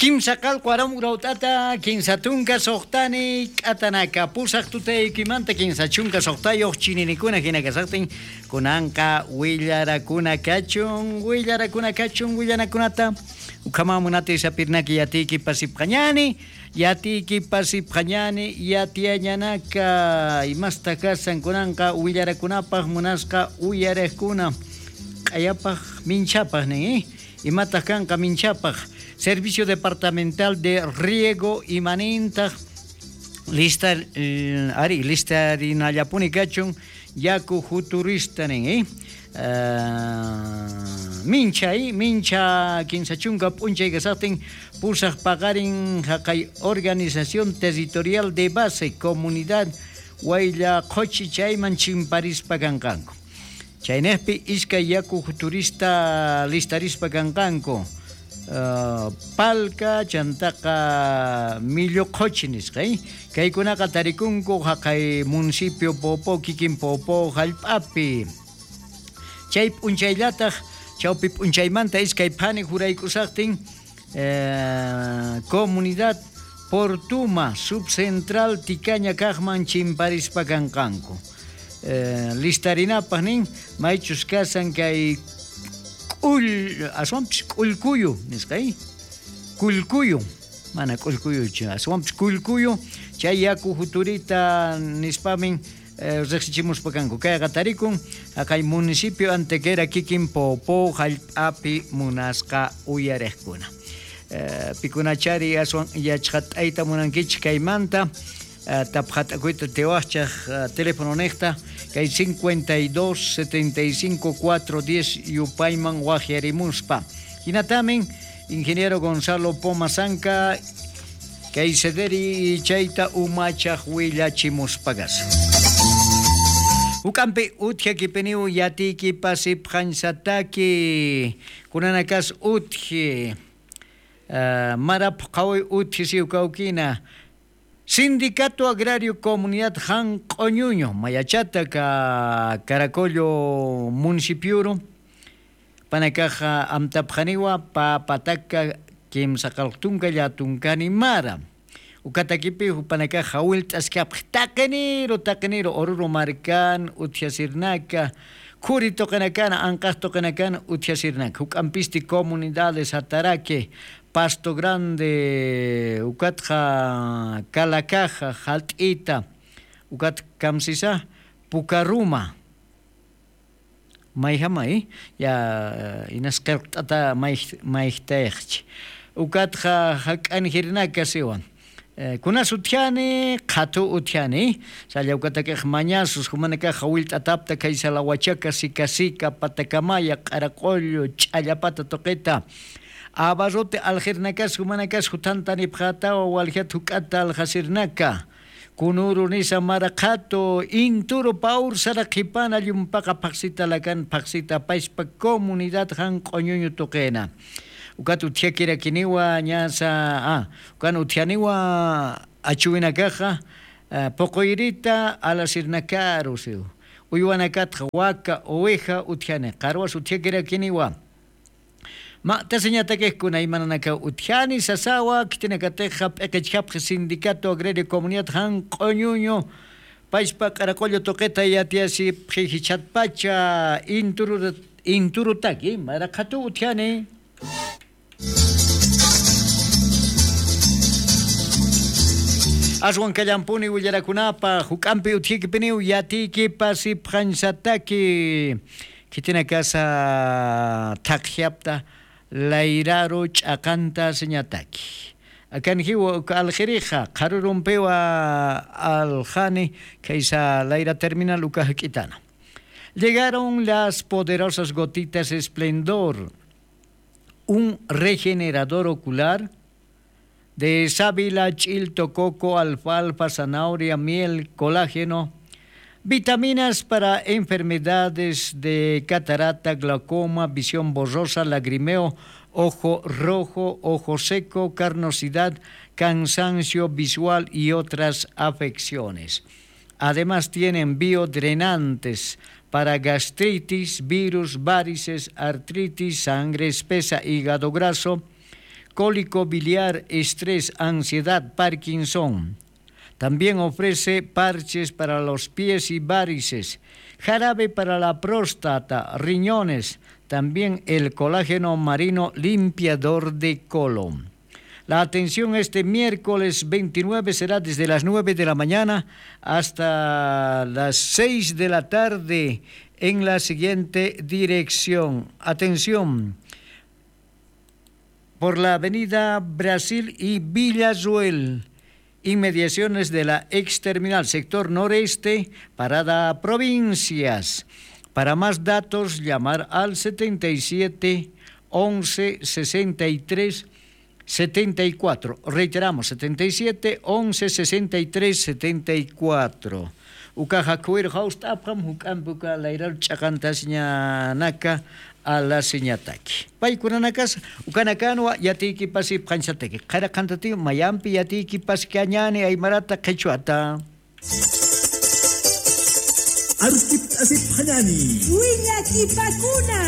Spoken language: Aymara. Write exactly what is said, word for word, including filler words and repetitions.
Kimsa qallqu aram urawt'ata, kinsa tunka suxtani, k'atanaka pusaq tutaykimanta kinsa chunka suxtayuq chininikuna jina kasaqtin, kunanqa willarakuna kachun, willarakuna kachun, willanakunata ukhaman munatay sapirnaki yatiykipasipxañani, yatiykipasipxañani, yatiyañanaka, imasta kasan kunanqa willarakunapaq munasqa uyariqkuna, q'ayapaq minchhapaq nin, ¿eh? Imataq kanqa minchhapaq? Servicio Departamental de Riego imanintaq lista, eh, ari, listarinallapuni kachun yaku juturista nin, ¿eh? Ah, minchha, ¿eh? Minchha kinsa chunka p'unchay kasaqtin pusaq paqarin jaqay organización territorial de base, comunidad, waylla qhuchi chayman chimparispa kanqanku. Chaynaqpi iskay yaku juturista listarispa kanqanku, ah, Palca, chantaqa Millo Qhuchi nisqa, ¿eh? Kaykunaqa tarikunku jaqay municipio Poopó, kikin Poopó jallp'api. Chay p'unchayllataq, chawpi p'unchaymanta iskay phani jurayk'usaqtin, eh, comunidad Portuma, subcentral Tikaña kaqman chimparispa kanqanku. Eh, listarinapaq nin, maychus kasan kay k'ull-, aswanpis k'ullkuyu, nisqa, ¿eh? Kullkuyu, mana k'ullkuyuchu, aswanpis kullkuyu, chay yaku juturita nispamin, eh, riqsichimuspa kanku. Kayqa tarikun, jaqay municipio Antequera kikin Poopó jallp'api munasqa uyariqkuna. Eh, pikunachari aswan yachqat'ayta munankichik kaymanta, eh, tapxat'akuyta tiwaqchaq, eh, telefononiqta, kay cincuenta y dos, setenta y cinco, cuatro diez yupayman waqyarimuspa. Jinatamin, ingeniero Gonzalo Poma Sanca, kay sederi chayta umachaq willachimuspa kasa. Juk'ampi utjakipiniw yatiykipasipxañsataki, kunanakas utji, ah, mara phuqhawi utji siw kawkina. Sindicato Agrario Comunidad Jan Q'uñuño, mayachata ka-, Caracollo municipioru, panakaxa amtapxaniwa, pä pataka kimsa qallqu tunka llätunkani mara. Ukatakipi jupanakaxa jawillt'askapxi taqiniru, taqiniru Oruro markan utjasirnaka, khuri tuqinakana, anqax tuqinakana utjasirnaka. Juk'ampisti comunidades Jataraki, Pasto Grande, ukatxa Calacaja, Jalt'ita, ukat kamsisa, Pucaruma. Mayjamay, ya, inas qillqt'ata may-, mayjtayxchi. Ukatxa jak'anjirnaka siwa. Eh, kunas utjani, qhatu utjani, salla ukatakix mañasus, jumanakax jawillt'atapta kay Salawachaka, Sika Sika, Patacamaya, Q'araqullu, Ch'allapata tuqita. Abarrote aljirnakas, jumanakas jutantanipxätawa, waljat juk'ata aljasirnaka. Kunuru nisa mara qhatu, inturu pä ursara qhipana llumpaqa phaxsita lakan phaxsita pachpa comunidad Jan Q'uñuñu tuqina. Ukat utjakirakiniwa ñasa, ah, ukan utjaniwa achuwinakaxa, ah, puquyrita alasirnakaru siw. Uywanakatxa waka, oveja utjani, qarwas utjakirakiniwa. Mä tasiñatakix kuna imananakaw utjani sasawa, khitinakatixa p'iqichjapxi Sindicato Agrario Comunidad Jan Q'uñuñu, pachpa Q'araqullu tuqita yatiyasipxi jichhatpacha inturu-, inturutaki, mara qhatu utjani. Aswan kallampuni willarakunapa, juk'ampi utjikipiniw yatiykipasipxañsataki. Khitinakasa thaqjapta layraru ch'aqanta siñataki. Akanjiwa uka aljirixa, qharurumpiwa aljani, khaysa layra terminal uka jak'itana. Llegaron las poderosas gotitas Esplendor, un regenerador ocular de sábila, ch'ilto, coco, alfalfa, zanahoria, miel, colágeno, vitaminas para enfermedades de catarata, glaucoma, visión borrosa, lagrimeo, ojo rojo, ojo seco, carnosidad, cansancio visual y otras afecciones. Además tienen biodrenantes para gastritis, virus, varices, artritis, sangre espesa, hígado graso, cólico biliar, estrés, ansiedad, Parkinson. También ofrece parches para los pies y varices, jarabe para la próstata, riñones, también el colágeno marino limpiador de colon. La atención este miércoles veintinueve será desde las nueve de la mañana hasta las seis de la tarde en la siguiente dirección. Atención, por la avenida Brasil y Villa Ruel, inmediaciones de la ex terminal, sector noreste, parada Provincias. Para más datos, llamar al setenta y siete, once, sesenta y tres, setenta y cuatro. Reiteramos, setenta y siete, once, sesenta y tres, setenta y cuatro. Ukaxa khuwir jawst'apxam, juk'ampi uka layraru ch'aqantasiñanaka alasiñataki. Paykunanakas ukanakanwa yatiykipasipxañsataki. Qhara qhantatiw mayampi yatiykipaskañani aymarata qhichwata. Arskipt'asipxañani. Willakipakuna.